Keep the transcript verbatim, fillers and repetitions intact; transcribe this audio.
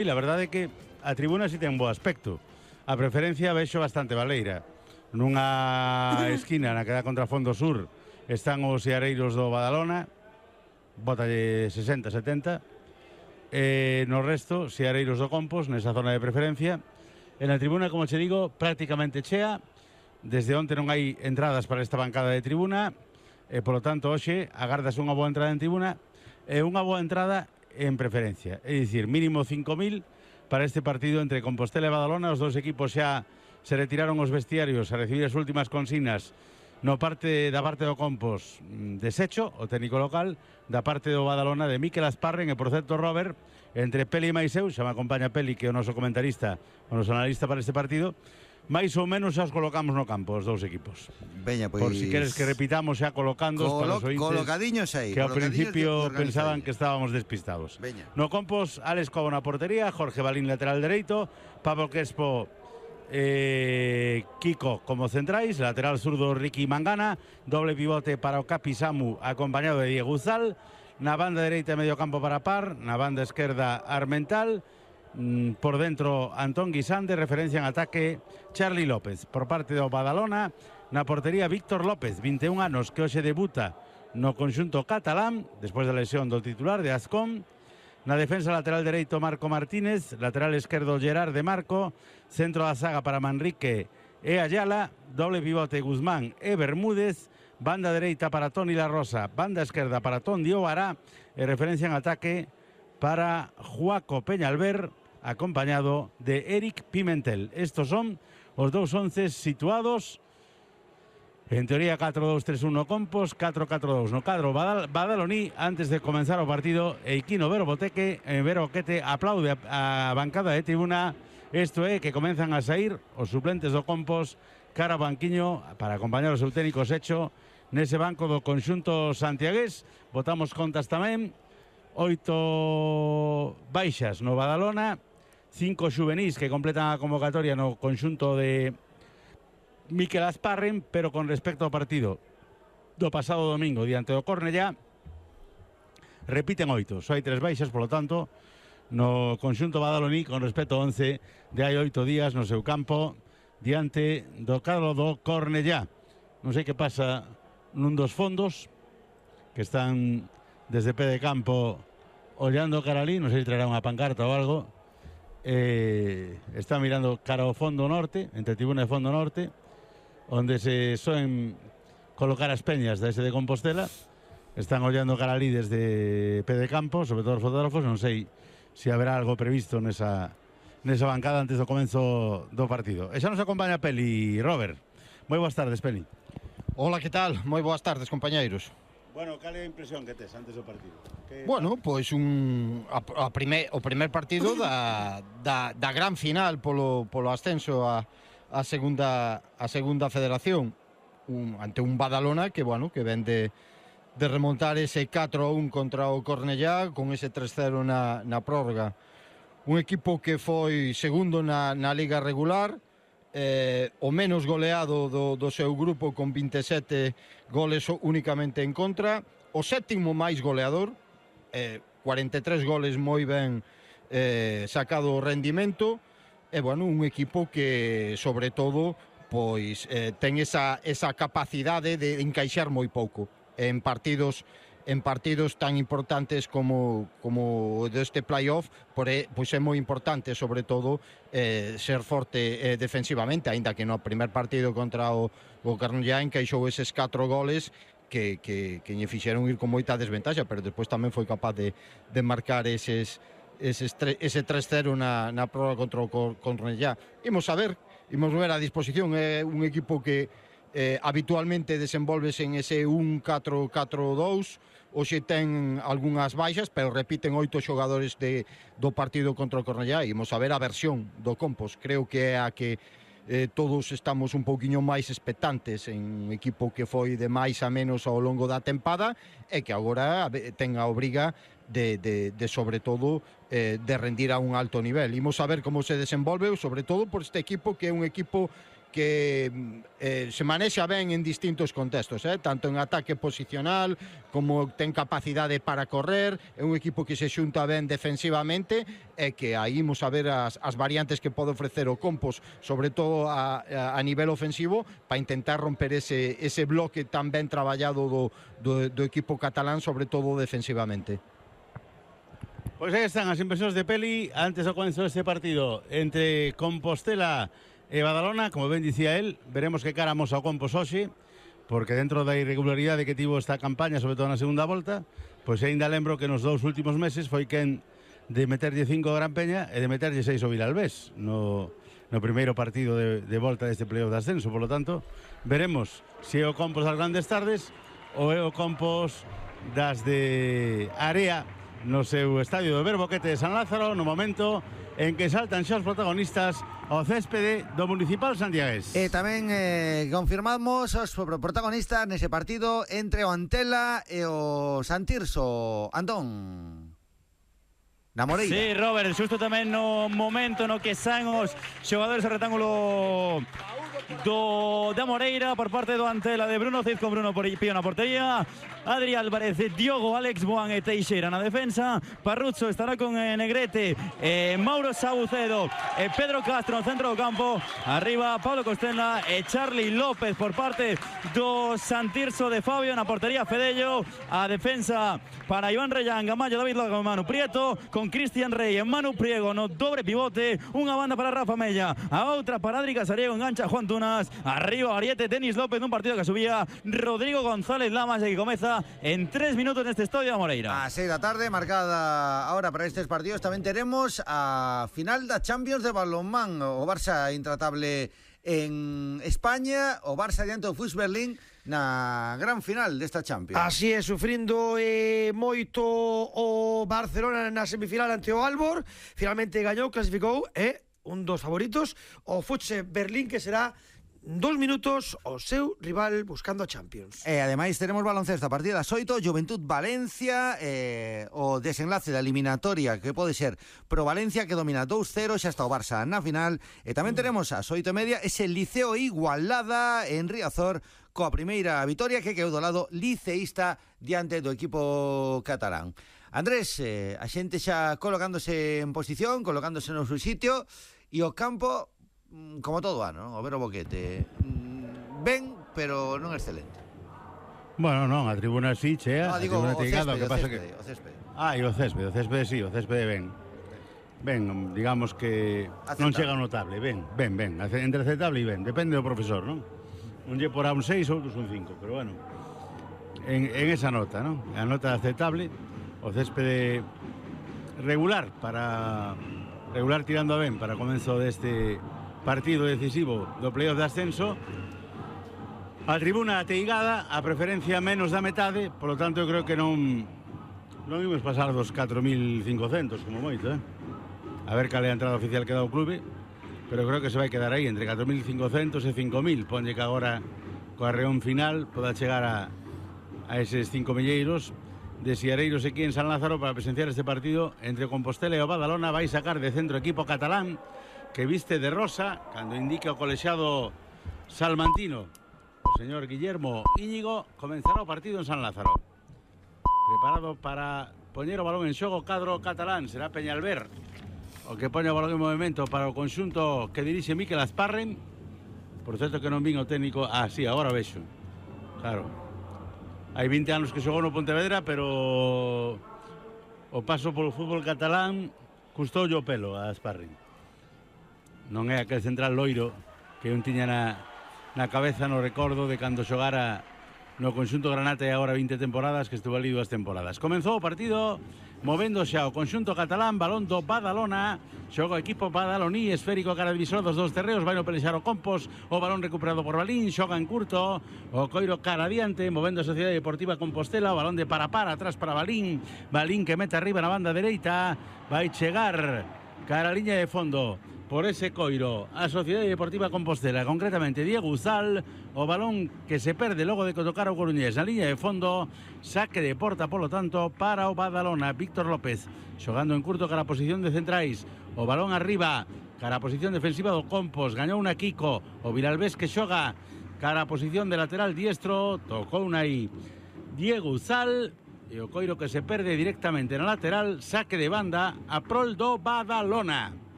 E a verdade é que a tribuna si ten bo aspecto. A preferencia vexo bastante baleira. Nunha esquina na que dá contra Fondo Sur están os seareiros do Badalona, bótalle sesenta, setenta, e no resto, seareiros do Compos, nesa zona de preferencia. En a tribuna, como che digo, prácticamente chea. Desde onte non hai entradas para esta bancada de tribuna, e, polo tanto, hoxe agardas unha boa entrada en tribuna e unha boa entrada en preferencia. É dicir, mínimo cinco mil para este partido entre Compostela e Badalona. Os dous equipos xa se retiraron os vestiarios a recibir as últimas consignas no parte da parte do Compos desecho, o técnico local, da parte do Badalona de Miquel Asparren. E, por certo, Robert, entre Peli e máis eu, xa me acompaña Peli, que é o noso comentarista, o noso analista para este partido, máis ou menos xa os colocamos no campo, os dous equipos. Veña, pois... Por si queres que repitamos xa colocando Colo para os ointes colocadiños aí, que ao principio pensaban aí. que estábamos despistados. Veña. No Compos, Alex Cobo na portería, Jorge Balín lateral dereito, Pablo Crespo, eh, Kiko como centrais, lateral zurdo Ricky Mangana, doble pivote para o Capi Samu acompañado de Diego Uzal, na banda dereita medio campo para Par, na banda esquerda Armental, por dentro Antón Guisán, de referencia en ataque Charlie López. Por parte do Badalona, na portería Víctor López, vinte e un anos, que hoxe debuta no conxunto catalán despois da lesión do titular de Azcón. Na defensa lateral dereito Marco Martínez, lateral esquerdo Gerard de Marco, centro da saga para Manrique e Ayala, doble pivote Guzmán e Bermúdez, banda dereita para Toni La Rosa, banda esquerda para Ton Diobará, e referencia en ataque para Juaco Peñalver, acompañado de Eric Pimentel. Estos son os dous onces situados. En teoría catro dos tres un no Compos, catro catro dos no cadro Badal Badaloní. Antes de comenzar o partido, Eiquino Vero Boteque, eh, Vero Boquete aplaude a, a bancada de tribuna. Isto é que comenzan a sair os suplentes do Compos cara ao banquiño para acompañar o seu técnico Secho nese banco do conxunto santiagués. Botamos contas tamén. Oito baixas no Badalona, cinco xuvenís que completan a convocatoria no conxunto de Miquel Asparren, pero con respecto ao partido do pasado domingo diante do Cornellá, repiten oito. Só hai tres baixas, polo tanto, no conxunto badaloní con respecto ao once de hai oito días no seu campo diante do cadro do Cornellá. Non sei que pasa nun dos fondos que están desde pé de campo ollando cara ali, non sei se traerá unha pancarta ou algo. Eh, está mirando cara ao fondo norte, entre tribuna e fondo norte, onde se soen colocar as peñas dese de Compostela. Están ollando cara ali desde pé de campo, sobre todo os fotógrafos. Non sei se haberá algo previsto nesa, nesa bancada antes do comenzo do partido. E xa nos acompaña Peli, Robert. Moi boas tardes, Peli. Hola, que tal? Moi boas tardes, compañeiros. Bueno, cal é a impresión que tes antes do partido? Que... Bueno, pois un a, a primer, o primer partido da, da, da gran final polo, polo ascenso a, a segunda a segunda federación, un, ante un Badalona que, bueno, que ven de, de remontar ese catro a un contra o Cornellá con ese tres cero na, na prórroga. Un equipo que foi segundo na, na liga regular, Eh, o menos goleado do, do seu grupo con vinte e sete goles únicamente en contra, o sétimo máis goleador, eh, cuarenta e tres goles moi ben eh, sacado o rendimento, e bueno, un equipo que sobre todo pois eh, ten esa, esa capacidade de encaixar moi pouco en partidos en partidos tan importantes como como deste playoff, poré, pois é moi importante sobre todo eh, ser forte eh, defensivamente, aínda que no primer partido contra o, o Cornellá encaixou eses catro goles que, que, que lle fixeron ir con moita desventaxa, pero despois tamén foi capaz de, de marcar eses, eses tre, ese tres cero na, na prórroga contra o Cornellá. Imos a ver, imos ver a disposición, é un equipo que Eh, habitualmente desenvolves en ese un catro catro dous. Hoxe ten algunhas baixas, pero repiten oito xogadores de, do partido contra o Cornellá. Imos a ver a versión do Compos. Creo que é a que eh, todos estamos un pouquiño máis expectantes, en un equipo que foi de máis a menos ao longo da tempada e que agora ten a obriga de, de, de sobre todo eh, de rendir a un alto nivel. Imos a ver como se desenvolve, sobre todo por este equipo que é un equipo que eh, se manexa ben en distintos contextos, eh? tanto en ataque posicional como ten capacidade para correr, é un equipo que se xunta ben defensivamente e que aí imos a ver as, as variantes que pode ofrecer o Compos, sobre todo a, a, a nivel ofensivo, para intentar romper ese, ese bloque tan ben traballado do, do, do equipo catalán, sobre todo defensivamente. Pois aí están as impresións de Peli antes do comezo deste partido entre Compostela e Badalona. Como ben dicía él, veremos que cara amos ao Compos hoxe, porque dentro da irregularidade que tivo esta campaña, sobre todo na segunda volta, pois ainda lembro que nos dous últimos meses foi quen de meterlle cinco ao Gran Peña e de meterlle seis ao Vilalbés no, no primeiro partido de, de volta deste playoff de ascenso. Por lo tanto, veremos se é o Compos das grandes tardes ou é o Compos das de Area no seu estadio do Verboquete de San Lázaro, no momento en que saltan xa os protagonistas ao céspede do Municipal Santiagués. E tamén eh, confirmamos os protagonistas nese partido entre o Antela e o Santirso. Antón na Moreira. Sí, Robert, xusto tamén no momento no que saen os xogadores ao rectángulo do da Moreira por parte do Antela de Bruno Cid, con Bruno Pío na portería, Adri Álvarez, Diogo, Alex Boan e Teixeira na defensa. Parruzzo estará con eh, Negrete, eh, Mauro Saucedo e eh, Pedro Castro no centro do campo. Arriba Pablo Costela e Charlie López por parte do Santirso de Fabio na portería. Fedello, a defensa para Iván Reyán, Gamayo, David Lago, Manu Prieto, con Cristian Rey e Manu Priego no dobre pivote. Unha banda para Rafa Mella, a outra para Adri Casariego, engancha Juan Tunas. Arriba Ariete, Denis López nun partido que subía Rodrigo González Lamas e que comeza en tres minutos neste estadio de Moreira. A seis da tarde, marcada ahora para estes partidos, tamén teremos a final da Champions de balonmán. O Barça intratable en España, o Barça diante do F U S Berlín na gran final desta Champions. Así é, sufrindo eh, moito o Barcelona na semifinal ante o Albor. Finalmente gañou, clasificou e un dos favoritos, o F U S Berlín, que será dos minutos o seu rival buscando a Champions. E ademais teremos baloncesto a partir das oito, Juventud Valencia, eh, o desenlace da eliminatoria que pode ser pro Valencia, que domina dos cero, xa está o Barça na final. E tamén teremos ás oito e media ese Liceo Igualada en Riazor, coa primeira vitoria que quedou do lado liceísta diante do equipo catalán. Andrés, eh, a xente xa colocándose en posición, colocándose no seu sitio, e o campo como todo ano, non? O Verboquete ben, pero non excelente. Bueno, non, a tribuna sí, chea, no, a digo, tribuna o teigada, céspede, que pasa o céspede, que... o céspede. Ah, e o céspede, o céspede sí, o céspede ben. Ben, digamos que aceptable. Non chega notable, ben, ben, ben, entre aceptable e ben, depende do profesor, non? Un lle porá un seis, outros un cinco, pero bueno, en, en esa nota, non? A nota aceptable, o céspede regular para regular tirando a ben para comezo deste partido decisivo do playoff de ascenso. A tribuna ateigada, a preferencia menos da metade, polo tanto eu creo que non non imos pasar dos catro mil cincocentos como moito, eh? A ver cal é a entrada oficial que dá o clube, pero creo que se vai quedar aí entre catro mil cincocentos e cinco mil. Ponlle que agora coa reón final poda chegar a, a eses cinco milleiros de Siareiros aquí en San Lázaro para presenciar este partido entre Compostela e o Badalona. Vai sacar de centro equipo catalán que viste de rosa cando indica o colexiado salmantino, o señor Guillermo Íñigo. Comenzará o partido en San Lázaro, preparado para poñer o balón en xogo cadro catalán. Será Peñalver o que pone o balón en movimento para o conxunto que dirixe Miquel Azparren. Por certo que non vin o técnico. Ah, sí, agora vexo. Claro, hai vinte anos que xogou no Pontevedra, pero o paso polo fútbol catalán custoulle o pelo a Azparren. Non é aquel central loiro que un tiña na, na cabeza no recordo de cando xogara no conxunto Granate agora vinte temporadas, que estuvo ali dúas temporadas. Comenzou o partido movendo xa o conxunto catalán, balón do Badalona, xoga o equipo badaloní, esférico cara divisor dos dos terreos, vai no pelexar o Compos, o balón recuperado por Balín, xoga en curto, o coiro cara adiante, movendo a Sociedade Deportiva Compostela, o balón de para para, atrás para Balín, Balín que mete arriba na banda dereita, vai chegar cara a liña de fondo por ese coiro a Sociedade Deportiva Compostela, concretamente Diego Uzal, o balón que se perde logo de que tocara o Coruñés na liña de fondo, saque de porta polo tanto para o Badalona. Víctor López xogando en curto cara a posición de centrais, o balón arriba cara a posición defensiva do Compos, gañou una Kiko, o Vilalbés que xoga cara a posición de lateral diestro, tocou una aí Diego Uzal, e o coiro que se perde directamente na lateral, saque de banda a prol do Badalona.